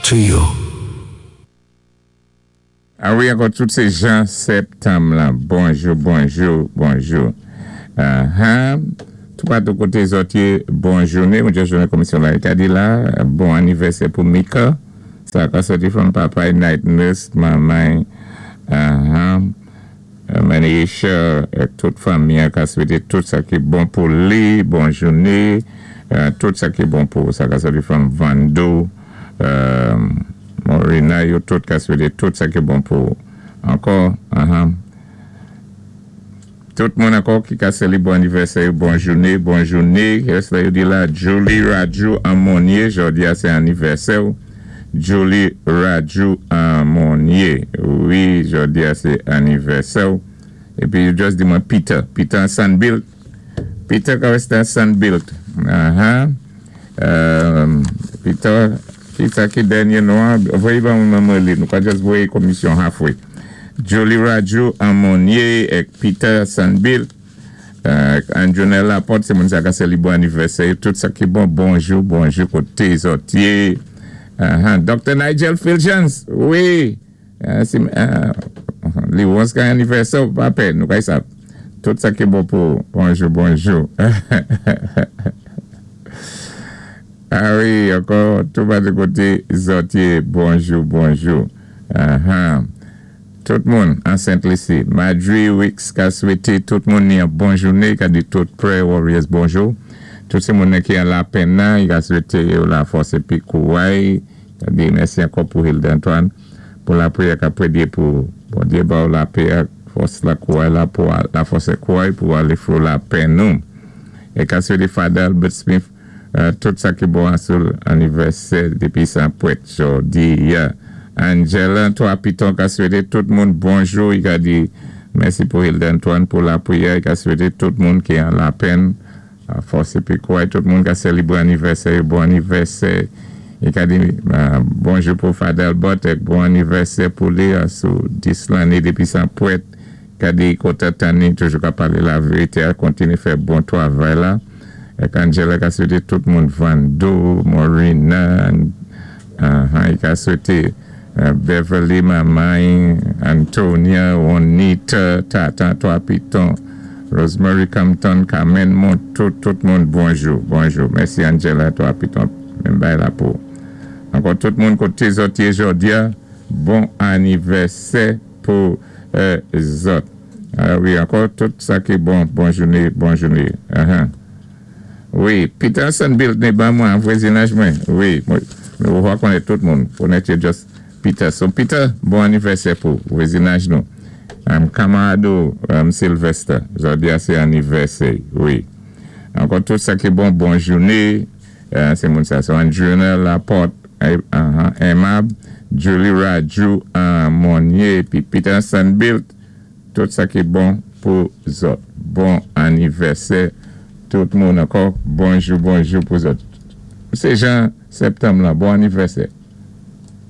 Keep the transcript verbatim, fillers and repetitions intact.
to you. A wi, ankò tout sé Jean Septanm la. Bonjou, bonjou, bonjou. Uh-huh. Tout patou koté zòt yé, bon jouné. Mwen jounen komisyon la. Ka di la, bon anivèsè pou Mika. Sa ka sòti from papa, night nurse, manman, uh-huh. Manisha, tout fanmi ka swété tout sa ki bon pou li, bon jouné, tout sa ki bon pou sa ka sòti from Vando, euh, Morina, yo tout ka swété tout sa ki bon pou ankò, uh-huh. Tout moun ankò ki ka sélé bon anivèsè, bon jouné, bon jouné. Kès la yo di la? Julie Raju Amonier, jòdi a sé anivèsè. Julie Raju Amonier. Wi, jòdi a sé anivèsè. Épi, yo just di mwen Peter. Peter Sunbuilt. Peter ka Sunbuilt. Uh-huh. Euh, Peter, ki sa ki dènyé non? Voyé ban mwen li. Nou ka just voyé komisyon halfway. Julie Raju Amonier ek Peter Sunbuilt. Euh, Anjonel Laporte, sé moun sa ka sélé bon anivèsè. Tout sa ki bon, bonjou, bonjou, koté zòt yé. Uh-huh. Docteur Nigel Filchans, wi. Uh, si, uh, li wons ka anivèsè, pa pè, nou kay sa. Tout sa ki bon pou, bonjou, bonjou. A wi, ankò, tout ba de koté zòt yé, bonjou, bonjou. Uh-huh. Tout moun an Saint-Lucie. Madri Wicks ka swété tout moun ni an bon jouné, ka di tout Prayer Warriors bonjou. Tout sé moun ki an lapenn nan, i ka swété yo la fòs épi kouway. Ka di mèsi ankò pou Hilda Antoine pou lapriyè ka prédé pou Bondyé ba ou lapè, fòs la kouway la pou la fòs é kouway pou alé fò lapenn nou. É ka swété Father Albert Smith euh, tout sa ki bon sou anivèsè dépi san pwèt jòdi ya. Angela, Trois Pitons ka swété tout moun bonjou. I ka di mèsi pou Hilda Antoine pou lapriyè. I ka swété tout moun ki an lapenn. A fòs épi kouway, tout moun ka sélébwé anivèsè, bon anivèsè. I ka di euh, bonjou pou Father Albert, ek bon anivèsè pou li sou dis lanné dépi san pwèt. Ka di koté tani, toujou ka palé la vérité, kontiné fè bon twavay la. Ek Angela ka swété tout moun Vando, Morina, uh, i ka swété uh, Beverly, Mamay, Antonia, Juanita, Tata, Trois Pitons, Rosemary Compton, Carmen Mont, tout, tout moun, bonjou, bonjou. Mèsi Angela, Trois Pitons, menm bay la pou. Ankò tout moun koté zòt yé jòdi a, bon anivèsè pou euh, zòt. A wi, ankò tout sa ki bon, bon jouné, bon jouné. Uh-huh. Wi, Peter Sunbuilt ni ban mwen, vwazinaj mwen. Wi, mwen, mwen wè konnèt tout moun. Konnèt yo just Peter. So Peter, bon anivèsè pou vwazinaj nou. Um, Kamarado um, Sylvester, jòdi a sé anivèsè, wi. Ankò tout sa ki bon, bon jouné. Euh, sé moun sa. So Andrena Laporte, uh, uh, Aimable, Julie Raju, uh, Monnier, pi Peter Sunbuilt, tout sa ki bon pou zòt. Bon anivèsè, tout moun ankò, bonjou, bonjou pou zòt. Sé Jean Septanm la, bon anivèsè.